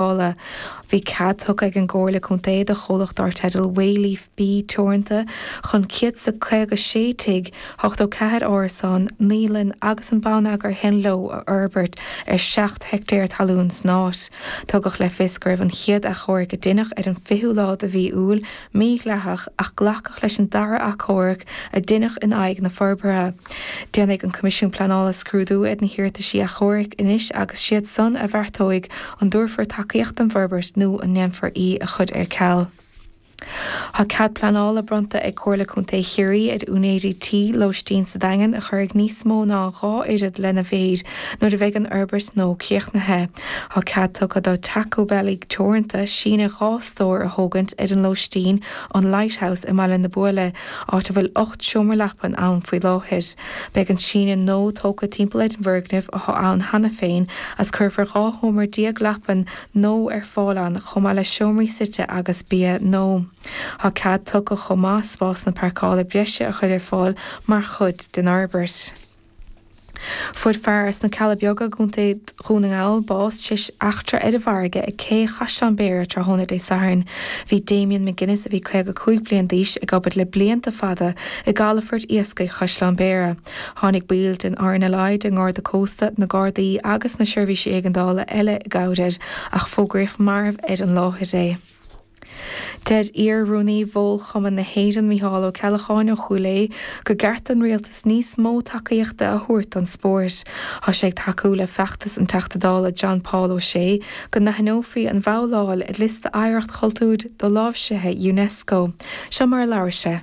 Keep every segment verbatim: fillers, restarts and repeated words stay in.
Bhí cead tugtha ag an gComhairle Contae do chomhlacht dar teideal Wayleaf B Teoranta chun céad is caoga sé tigh, ochtó ceathair árasán, naíolann agus an bonneagar a théann leo a fhorbairt ar seacht heictéar talún san áit. Tugadh le fios go raibh an chéad achomharc a deineadh ar an fichiú lá de mhí Iúil mídhleathach ach glacadh leis an dara achomharc a deineadh in aghaidh na forbartha. Déanfaidh an Coimisiún Pleanála scrúdú ar na hiarrataisí achomhairc anois agus siad san a bheartóidh an dtabharfar tacaíocht don bhforbairt nó an ndéanfar í a chur ar ceal. Tá cead pleanála bronnta ag Comhairle Contae Chiarraí ar úinéirí tí lóistín sa Daingean a chur ag níos mó ná dhá oiread lena mhéid nuair a bheidh an fhorbairt nua críochnaithe. Tá cead tugtha do Taco Belly Teoranta síneadh dhá stór a thógaint ar an lóistín an Lighthouse i mBaile na Buaile, áit a bhfuil ocht seomra leapan ann faoi láthair. Beidh an síneadh nua tógtha timpeall ar an bhfoirgneamh atá ann cheana féin agus cuirfear dhá sheomra déag leapan nua ar fáil ann chomh maith le seomraí suite agus bia nua. Tá cead tugtha chomh maith spásanna páirceála breise a chur ar fáil mar chuid den fhorbairt. Fuair fear as na Cealla Beaga i gContae Dhún na nGall bás tar éis eachtra ar an bhfarraige ag cé Chaisleán Béara tráthnóna Dé Sathairn. Bhí Damien McGuinness, a bhí caoga cúig bliain d'aois, ag obair le blianta fada i gcalafort iascaigh Chaisleán Béara. Tháinig baill den RNLI, den nGarda Cósta, na Gardaí agus na seirbhísí éigeandála eile i gcabhair air ach fógraíodh marbh ar an láthair é. Deir iar-rúnaí Mhol Chumann na hÉireann Micheál Ó Ceallacháin ó Chúil Aodha gur ceart don rialtas níos mó tacaíochta a thabhairt don spórt. Tá sé ag tacú le feachtas an Teachta Dála John Paul O'Shea go n-aithneofaí an bhabhláil ar liosta oidhreacht chultúir doláimhsithe UNESCO. Seo mar a labhair sé.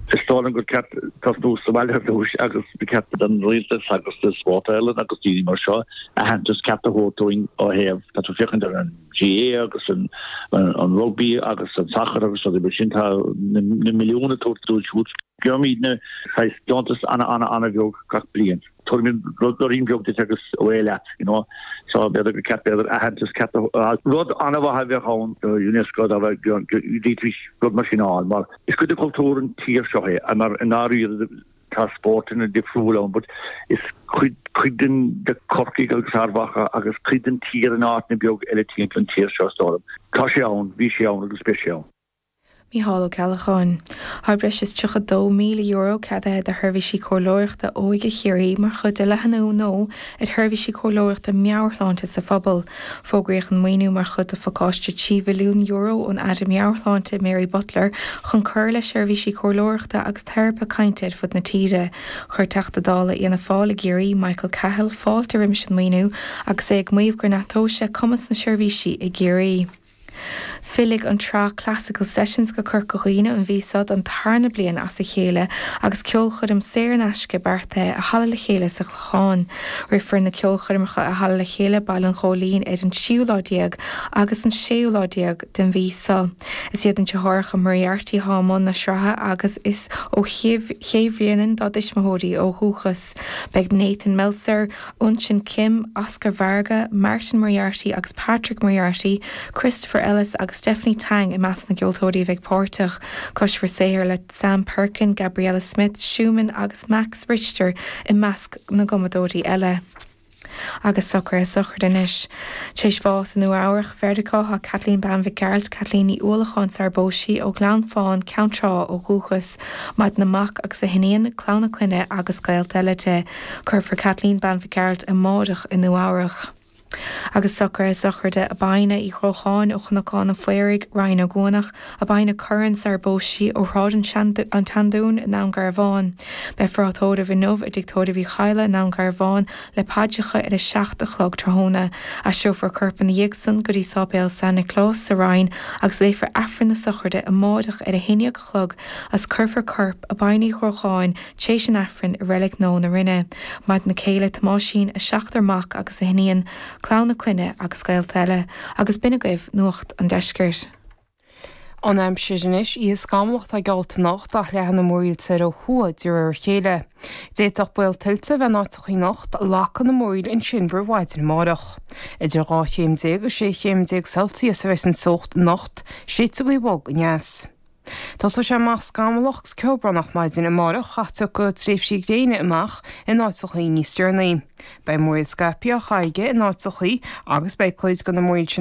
Is dóigh liom gur ceart tosnú sa bhaile ar dtús agus ba cheart don rialtas agus do Sport Ireland agus daoine mar seo aitheantas ceart a thabhairt dúinn ó thaobh tá tú féachaint ar an GAA agus an an rugby agus an sacar agus rudaí mar sin tá na milliúin ag tabhairt dóibh siúd. Gheobhaimidne saghas deontas ana ana ana bheag gach bliain. Tabharfaimid rudaín beag duit agus away leat, you know. So b'fhéidir gur ceart b'fhéidir aitheantas ceart a rud an-mhaith a bheadh ann do UNESCO dá bhféadfaidís rud mar sin a fháil mar is cuid de chultúr an tír seo é mar i ndáiríre tá spórtanna difriúil ann but is cuid cuid den de Corcaigh agus Ard Mhacha agus cuid den tír in áiteanna beag eile timpeall an tír seo is dóigh liom. Tá sé ann, bhí sé ann agus beidh sé ann. Mícheál Ó Ceallacháin. Tá breis is tríocha dó míle euro ceadaithe do sheirbhísí comhairleoireachta óige Chiarraí mar chuid de leathnú nua ar sheirbhísí comhairleoireachta meabhairshláinte sa phobal. Fógraíodh an maoiniú mar chuid de phacáiste trí mhilliún euro ón Aire Meabhairshláinte Mary Butler chun cur le seirbhísí comhairleoireachta agus teiripe cainte ar fud na tíre. Chuir Teachta Dála Fhianna Fáil i gCiarraí, Michael Cahill, fáilte roimis an maoiniú agus é ag maíomh go neartóidh sé cumas na seirbhísí i gCiarraí. Fillfidh an tsraith Classical Sessions go Corca Dhuibhne an mhí seo don tarna bliain as a chéile agus ceolchoirm saor in aisce beartaithe i Halla Le Chéile sa Chlochán. Rithfear na ceolchoirmeacha i Halla Le Chéile, Baile an Ghóilín ar an tríú lá déag agus an séú lá déag den mhí seo. Is iad an deartháireacha Moriarty atá i mbun na sraithe agus is ó Ché Bhréanainn dá dtuismitheoirí ó dhúchas. Beidh Nathan Meltzer, Unshin Kim, Oscar Varga, Martin Moriarty agus Patrick Moriarty, Christopher Ellis agus Stephanie Tang i measc na gceoltóirí a bheidh páirteach. Cloisfear saothair le Sam Perkin, Gabriella Smith, Schumann agus Max Richter i measc na gcumadóirí eile. Agus socruithe sochraide anois. Tar éis bháis i Nua Eabhrach, Mheiriceá, tá Kathleen Bean Mhic Gearailt, Kathleen Ní Uallacháin sar a phós sí ó Ghleann Fáin, Ceann Trá ó dhúchas. Maireann a mac agus a hiníon, clann a clainne agus gaolta eile di. Cuirfear Kathleen Bean Mhic Gearailt amárach i Nua Eabhrach. Agus socruithe sochraide ab Aidhne Uí Chrocháin ó Chnocán an Phaoraigh, Rinn Ó gCuanach, ab Aidhne Curran sar a phós sí ó Shráid an tSeandúin i nDún Garbhán. Beifear á tórramh inniu i dTigh Tórraimh Uí Chadhla i nDún Garbhán le paidreacha ar a seacht a chlog tráthnóna. Aistreofar a corp ina dhiaidh san go dtí Sáipéal San Nioclás sa Rinn agus léifear Aifreann na sochraide amáireach ar a haon déag a chlog agus cuirfear corp Abbain Uí Chrocháin tar éis an Aifrinn i Reilig Nua na Rinne. Maireann a céile Tomáisín, a seachtar mac agus a hiníon, clann a clainne agus gaolta eile, agus b'in agaibh Nuacht an Deiscirt. An aimsir anois, oíche scamallach atá geallta anocht ach leathfaidh na múraíl soir ó thuaidh de réir a chéile. D'fhéadfadh baol tuilte a bheith in áiteachaí anocht, glacfaidh na múraíl ansin roimh mhaidin amárach. Idir dhá chéim déag agus sé chéim déag Celsius a bheas an teocht anocht, séidfidh gaoth bhog aneas. Tosóidh sé amach scamallach agus ceobhránach maidin amárach ach tiocfaidh tréimhsí gréine amach in áiteachaí níos deireanaí. Beidh múraíl scaipthe á charraige in áiteachaí agus beidh cuid de na múraíl sin